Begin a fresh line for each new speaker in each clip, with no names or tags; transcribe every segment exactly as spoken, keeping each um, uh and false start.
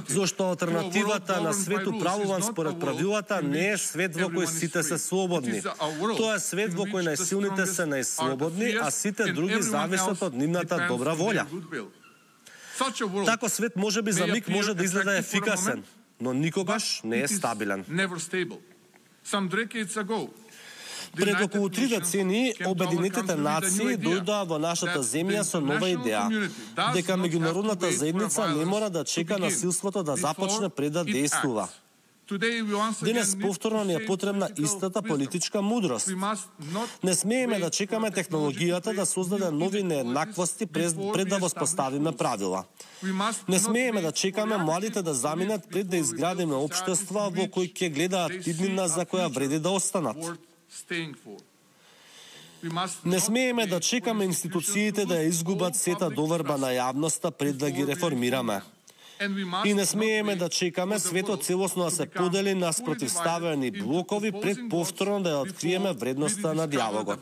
Зошто алтернативата на свет управуван според правилата не е свет во кој сите се слободни. Тоа е свет во кој најсилните се најслободни, а сите други зависат од нивната добра волја. Тако свет може би за миг може да изгледа ефикасен, но никогаш не е стабилен. Пред околу три децени, Обединетите нации дојдоа во нашата земја со нова идеја, дека меѓународната заедница не мора да чека насилството да започне пред да действува. Денес повторно ни е потребна истата политичка мудрост. Не смееме да чекаме технологијата да создаде нови нееднаквости пред да воспоставиме правила. Не смееме да чекаме младите да заминат пред да изградиме општества во кои ќе гледаат иднина за која вреди да останат. Не смееме да чекаме институциите да ја изгубат сета доверба на јавноста пред да ги реформираме. И не смееме да чекаме светот целосно да се подели на спротивставени блокови пред повторно да ја откриеме вредноста на диалогот.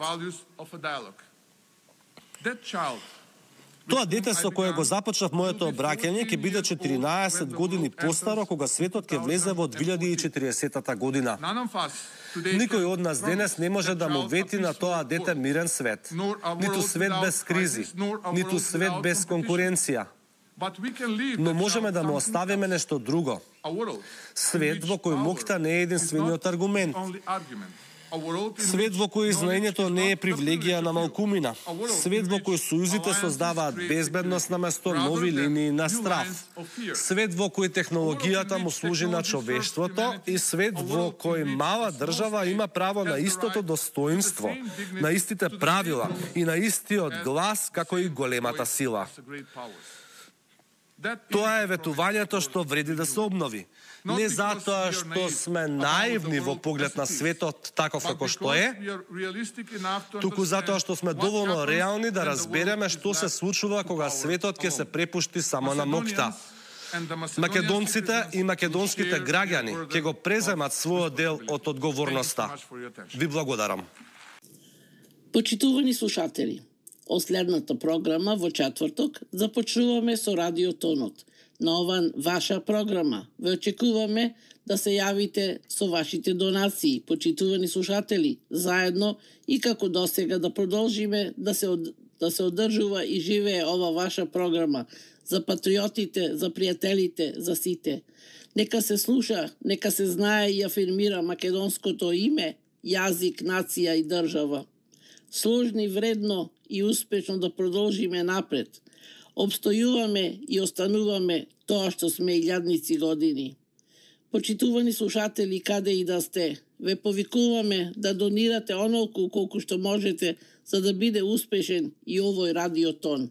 Тоа дете со кое го започнав моето обраќање ќе биде четиринаесет години постаро кога светот ќе влезе во две илјади и четиридесета година. Никој од нас денес не може да му вети на тоа дете мирен свет. Ниту свет без кризи, ниту свет без конкуренција. Но можеме да му оставиме нешто друго. Свет во кој моќта не е единствениот аргумент. Свет во кој знаењето не е привилегија на малкумина. Свет во кој сојузите создаваат безбедност наместо нови линии на страв. Свет во кој технологијата му служи на човештвото и свет во кој мала држава има право на истото достоинство, на истите правила и на истиот глас како и големата сила. Тоа е ветувањето што вреди да се обнови. Не затоа што сме наивни во поглед на светот таков како што е, туку затоа што сме доволно реални да разбереме што се случува кога светот ќе се препушти само на ноќта. Македонците и македонските граѓани ќе го преземат својот дел од одговорноста. Ви благодарам.
Почитувани слушатели, од следната програма во четврток започнуваме со Радиотонот. На оваа ваша програма ве очекуваме да се јавите со вашите донации, почитувани слушатели, заедно и како досега да продолжиме да се од, да се одржува и живее ова ваша програма за патриотите, за пријателите, за сите. Нека се слуша, нека се знае и афирмира македонското име, јазик, нација и држава. Сложни, вредно и успешно да продолжиме напред. Обстојуваме и остануваме тоа што сме илјадници години. Почитувани слушатели, каде и да сте, ве повикуваме да донирате онолку колку што можете за да биде успешен и овој радиотон.